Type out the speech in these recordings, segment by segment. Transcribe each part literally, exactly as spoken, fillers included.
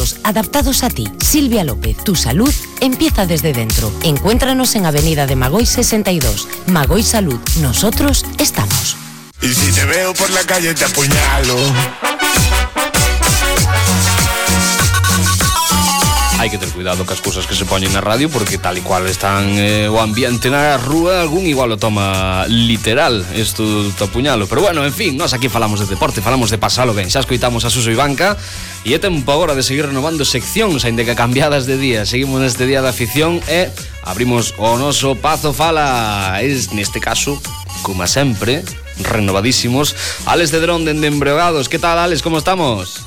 cuidados adaptados a ti. Silvia López, tu salud empieza desde dentro. Encuéntranos en Avenida de Magoy sesenta y dos. Magoy Salud, nosotros estamos. Y si te veo por la calle te apuñalo. Hai que ter cuidado cas cousas que se poñen na radio, porque tal e cual están eh, o ambiente na rúa, algún igual o toma literal isto do apuñalo. Pero bueno, en fin, nós aquí falamos de deporte, falamos de pasalo ben. Xa escoitamos a Suso Ivanca e é tempo agora de seguir renovando seccións, aínda que cambiadas de día. Seguimos neste día da afición e abrimos o noso Pazo Fala. Es neste caso, como sempre, renovadísimos, Alex de Drón dende Embreogados. Que tal, Alex, como estamos?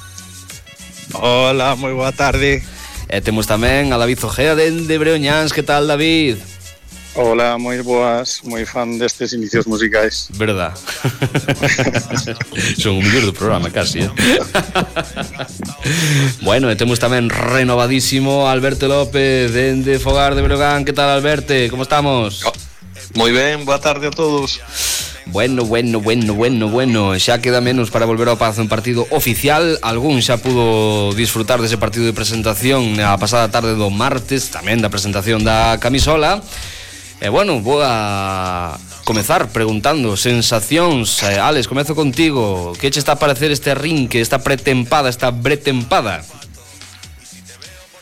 Hola, moi boa tarde. E temos tamén a David Ojea dende Breoñáns. Que tal, David? Hola, moi boas, moi fan destes inicios musicais. Verdad. Son o mellor do programa, casi, eh? Bueno, e temos tamén renovadísimo Alberto López dende Fogar de Breogán. Que tal, Alberto? Como estamos? Oh, moi ben, boa tarde a todos. Bueno, bueno, bueno, bueno, bueno. Xa queda menos para volver ao Pazo en partido oficial. Algún xa pudo disfrutar dese partido de presentación a pasada tarde do martes, tamén da presentación da camisola. E bueno, vou a comezar preguntando sensacións. eh, Alex, comezo contigo. Que che está a parecer este arrinque, esta pretempada, esta bretempada?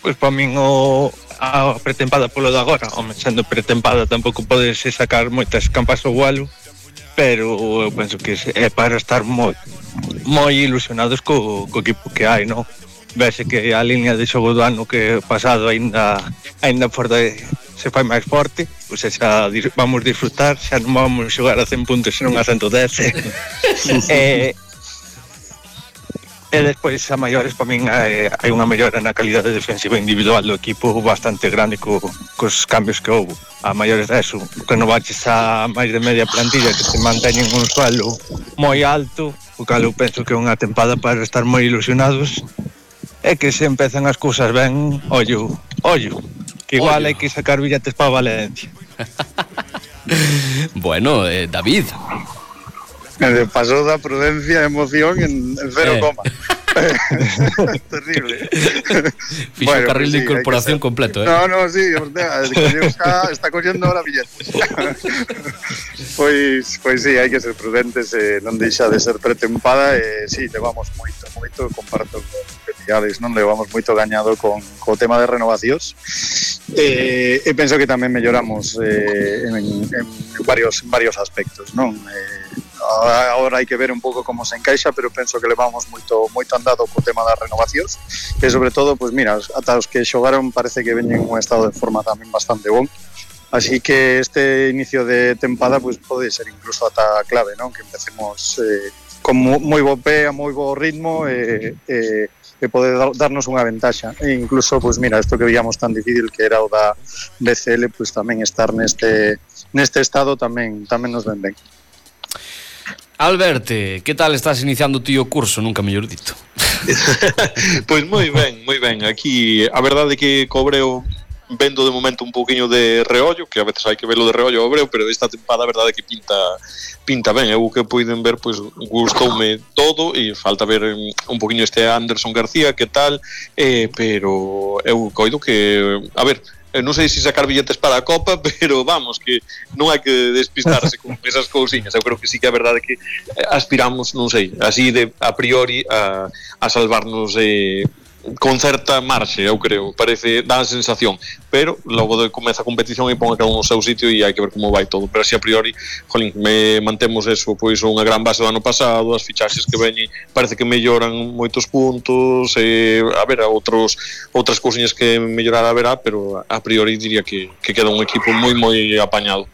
Pois para min o a pretempada polo de agora, home, sendo pretempada tampouco podes sacar moitas campas ao vuelo, pero eu penso que é para estar moi moi ilusionados co, co equipo que hai, non? Vese que a línea de xogo do ano que pasado aínda aínda forte se fai máis forte, pois xa vamos disfrutar, xa non vamos xogar a cen puntos senón a ciento dez. e E despois a maiores para min hai, hai unha mellora na calidade defensiva individual do equipo bastante grande co, cos cambios que houve. A maiores deso, renovaches a máis de media plantilla que se manteñen un suelo moi alto, o cal eu penso que é unha tempada para estar moi ilusionados, e que se empezan as cousas ben, ollo, ollo, que igual ollo. Hai que sacar billetes para Valencia. Bueno, eh, David... Pasou da prudencia e emoción en, en cero eh. coma. Terrible. Fixo bueno, carril pues de sí, incorporación completo, eh. No, no, sí, hostia, está, está cogiendo ahora billetes. Pois, pois sí, hai que ser prudentes, eh, non deixa de ser pretempada e eh, sí, levamos moito, moito, comparto con Alex, non levamos moito gañado con co tema de renovacións. E eh, penso que tamén melloramos eh, en, en varios en varios aspectos, non? Eh, Agora hai que ver un pouco como se encaixa, pero penso que levamos moito moito andado co tema das renovacións e sobre todo, pois mira, ata os que xogaron parece que veñen en un estado de forma tamén bastante bon. Así que este inicio de tempada pois pode ser incluso ata clave, non? Que empecemos eh, con moi bo pé, a moi bo ritmo e, e, e poder darnos unha ventaxa. E incluso, pois mira, isto que veíamos tan difícil que era o da B C L, pois tamén estar neste neste estado tamén tamén nos ven ben. Alberto, que tal estás iniciando ti o curso? Nunca mellor dito. Pois moi ben, moi ben. Aquí a verdade é que cobreo vendo de momento un pouquiño de reollo, que a veces hai que verlo de reollo ao Breo, pero esta tempada a verdade é que pinta pinta ben. Eu que poiden ver, pois gustoume todo e falta ver un pouquiño este Anderson García, que tal, eh, pero eu coido que, a ver, non sei se sacar billetes para a Copa, pero vamos, que non hai que despistarse con esas cousiñas. Eu creo que sí que a verdade é que aspiramos, non sei, así de a priori a, a salvarnos eh, con certa marxe, eu creo, parece, dá a sensación, pero logo de comeza a competición e pon a cada un o seu sitio e hai que ver como vai todo, pero así a priori, jolín, me mantemos eso, pois unha gran base do ano pasado, as fichaxes que veñen parece que melloran moitos puntos, e, a ver, a outros outras cousiñas que mellorar a verá, pero a priori diría que, que queda un equipo moi moi apañado.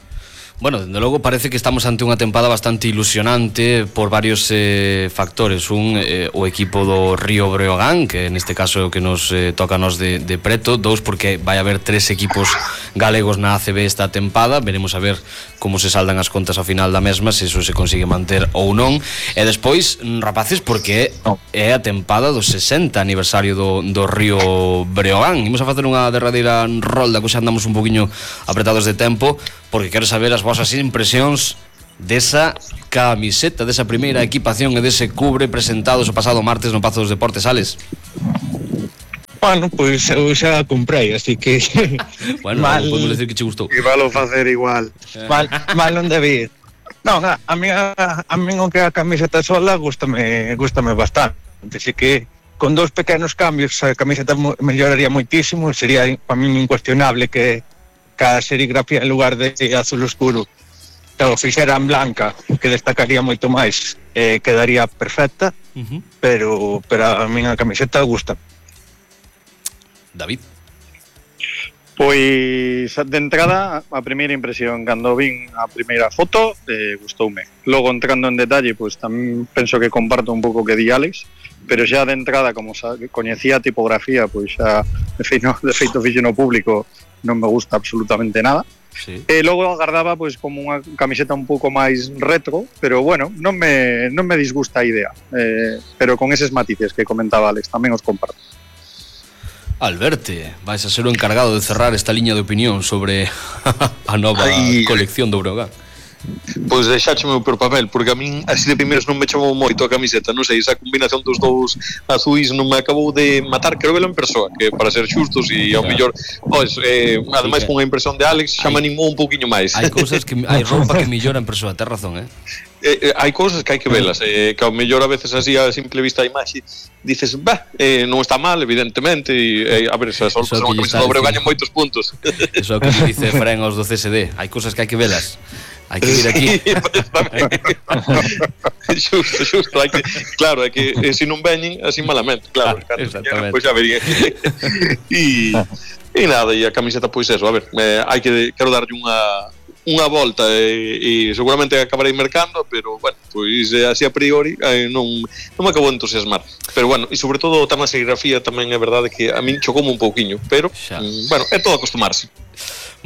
Bueno, dende logo parece que estamos ante unha tempada bastante ilusionante por varios eh, factores. Un, eh, o equipo do Río Breogán, que neste caso é o que nos eh, toca a nos de, de preto. Dous, porque vai haber tres equipos galegos na A C B esta tempada. Veremos a ver como se saldan as contas ao final da mesma, se iso se consigue manter ou non. E despois, rapaces, porque é a tempada do sesenta aniversario do, do Río Breogán. Imos a facer unha derradeira rolda, que xa andamos un poquinho apretados de tempo, porque quero saber as vosas impresións desa camiseta, desa primeira equipación e dese cubre presentados o pasado martes no Pazo dos Deportes, Ales. Bueno, pois pues, eu xa a comprei, así que bueno, mal, podemos decir que che gustou. E valo facer igual. Mal, mal non debí. Non, a, a mí a, a mí o que a camiseta sola gústame, gústame bastante. Así que con dous pequenos cambios a camiseta melloraría moitísimo, sería para mí incuestionable que cada serigrafía en lugar de azul oscuro o fixera en blanca, que destacaría moito máis, eh, quedaría perfecta, uh-huh. pero, pero a mí a camiseta gusta. David? Pois, de entrada, a primeira impresión, cando vin a primeira foto, eh, gustoume. Logo, entrando en detalle, pois tamén penso que comparto un pouco que di Alex, pero xa de entrada, como sa, coñecía a tipografía, pois xa, de feito, de feito fixo no público, non me gusta absolutamente nada. Sí. E logo agardaba pois como unha camiseta un pouco máis retro, pero bueno, non me, non me disgusta a idea, eh, pero con eses matices que comentaba Alex, tamén os comparto. Alberte, vais a ser o encargado de cerrar esta liña de opinión sobre a nova Ay, colección do Breogán. Pois deixácheme por papel, porque a min así de primeiros non me chamou moito a camiseta, non sei, esa combinación dos dous azuis non me acabou de matar, quero velo en persoa, que para ser xustos e ao mellor, pois, eh, ademais con a impresión de Alex xa me animou un pouquiño máis. Hai cousas que hai roupa que mellora en persoa, tes razón, eh? Eh, eh, hai cousas que hai que velas, eh, que ao mellor a veces así a simple vista a imaxe dices, bah, eh, non está mal evidentemente e, eh, a ver, se só son unha camiseta dobre gañan moitos puntos. Eso é o que dice Fren aos do C S D, hai cousas que hai que velas. Hai que ir aquí. Xusto, xusto, hai que, claro, é que eh, se non veñen así malamente, claro, ah, exactamente. Pois pues, xa vería. E e nada, e a camiseta pois eso, a ver, eh, hai que quero darlle unha unha volta e, e seguramente acabarei mercando, pero bueno, pois así a priori eh, non, non me acabo de entusiasmar. Pero bueno, e sobre todo o tema serigrafía tamén é verdade que a min chocoume un pouquiño, pero mm, bueno, é todo acostumarse.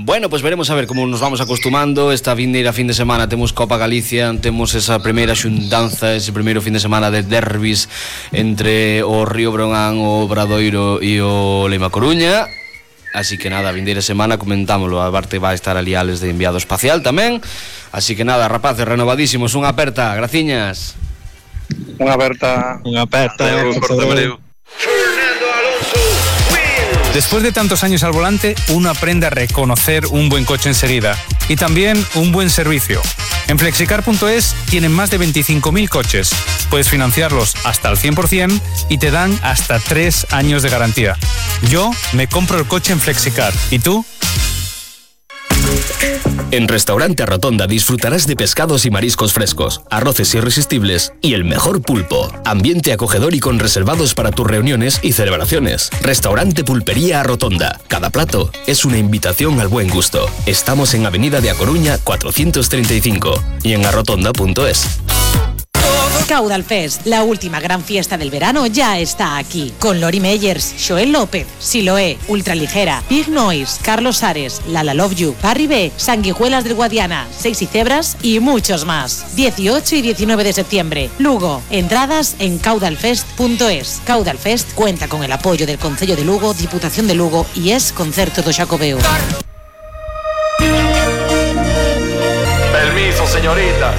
Bueno, pues veremos a ver como nos vamos acostumando. Esta vindeira fin de semana temos Copa Galicia, temos esa primeira xuntanza, ese primeiro fin de semana de derbis entre o Río Breogán, o Obradoiro e o Lema Coruña. Así que nada, vindeira semana comentámoslo. A parte vai estar ali Ales de enviado espacial tamén. Así que nada, rapaces, renovadísimos. Unha aperta, graciñas. Unha aperta. Unha aperta. Después de tantos años al volante, uno aprende a reconocer un buen coche enseguida y también un buen servicio. En flexicar punto es tienen más de veinticinco mil coches. Puedes financiarlos hasta el cien por ciento y te dan hasta tres años de garantía. Yo me compro el coche en Flexicar. ¿Y tú? En Restaurante Rotonda disfrutarás de pescados y mariscos frescos, arroces irresistibles y el mejor pulpo. Ambiente acogedor y con reservados para tus reuniones y celebraciones. Restaurante Pulpería Rotonda. Cada plato es una invitación al buen gusto. Estamos en Avenida de A Coruña cuatrocientos treinta y cinco y en arrotonda punto es. Caudal Fest, la última gran fiesta del verano, ya está aquí. Con Lori Meyers, Joel López, Siloé, Ultraligera, Big Noise, Carlos Ares, Lala Love You, Parry B, Sanguijuelas del Guadiana, Seis y Cebras y muchos más. dieciocho y diecinueve de septiembre, Lugo. Entradas en caudal fest punto es. Caudal Fest cuenta con el apoyo del Concello de Lugo, Diputación de Lugo y es Concerto do Xacobeo. Permiso, señorita.